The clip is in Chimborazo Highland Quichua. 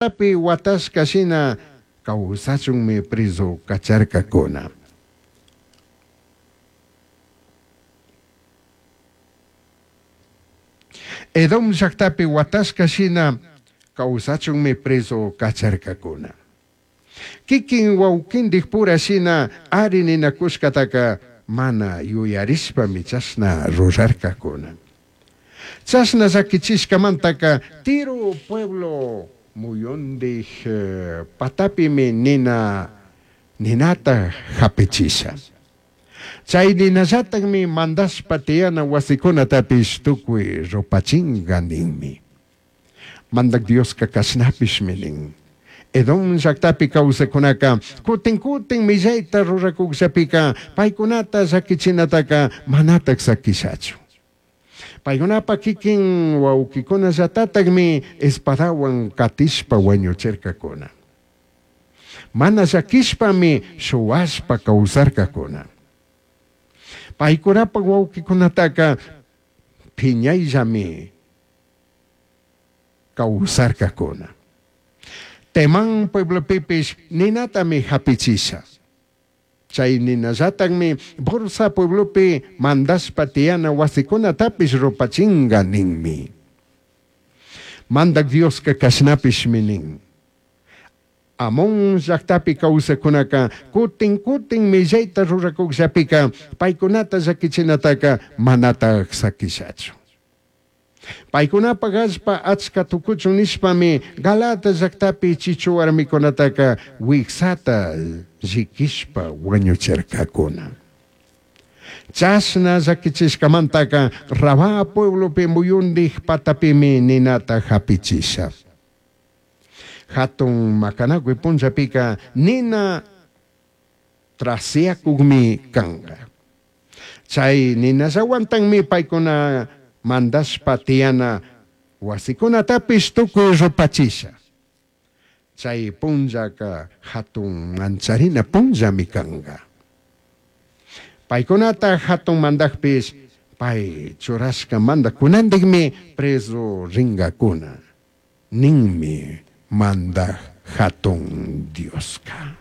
Llajtapi huatashca shina causachunmi prezu cacharcacuna. Edom llajtapi huatashca shina causachunmi prezu cacharcacuna. Quiquin huauquindijpura shina ari ninacushcataca mana yuyarishpami chashna rurarcacuna. Chashna llaquichishcamantaca Tiro pueblo muyundij patapimi nina ninata japichisha. Chai ninallatajmi mandashpa tiyana huasicunatapish tucui rupachinga ninmi. Mandaj Diosca cashnapishmi nin, Edom llajtapi causajcunaca cutin cutin millaita ruracujllapica paicunata llaquichinataca manataj saquishachu. Paicunapaj quiquin huauquicunallatatajmi espadahuan catishpa huañuchircacuna. Mana llaquishpami shuhuashpa causarcacuna. Paicunapaj huauquicunataca phiñaillami causarcacuna. Temán pueblopipish ninatami japichisha. Chai ninallatajmi Borsa pueblopi mandashpa tiyana huasicunatapish rupachinga ninmi. Mandaj Diosca cashnapishmi nin, Amón llajtapi causajcunaca cutin cutin millaita ruracujllapica paicunata llaquichinataca manataj saquishachu. Paicunapaj allpa achca tucuchun nishpami Galaad llajtapi chichu huarmicunataca huijsata lliquishpa huañuchircacuna. Chashna llaquichishcamantaca Rabá pueblopi muyundij patapimi ninata japichisha. Jatun macanacui punllapica nina trasiacujmi canga. Chai ninallahuantajmi paicuna mandashpa tiyana huasicunatapish tucui rupachisha. Chai punllaca jatun mancharina punllami canga. Paicunata jatun mandajpish pai churashca mandajcunandijmi prezu ringacuna ninmi Mandaj Jatun Diosca.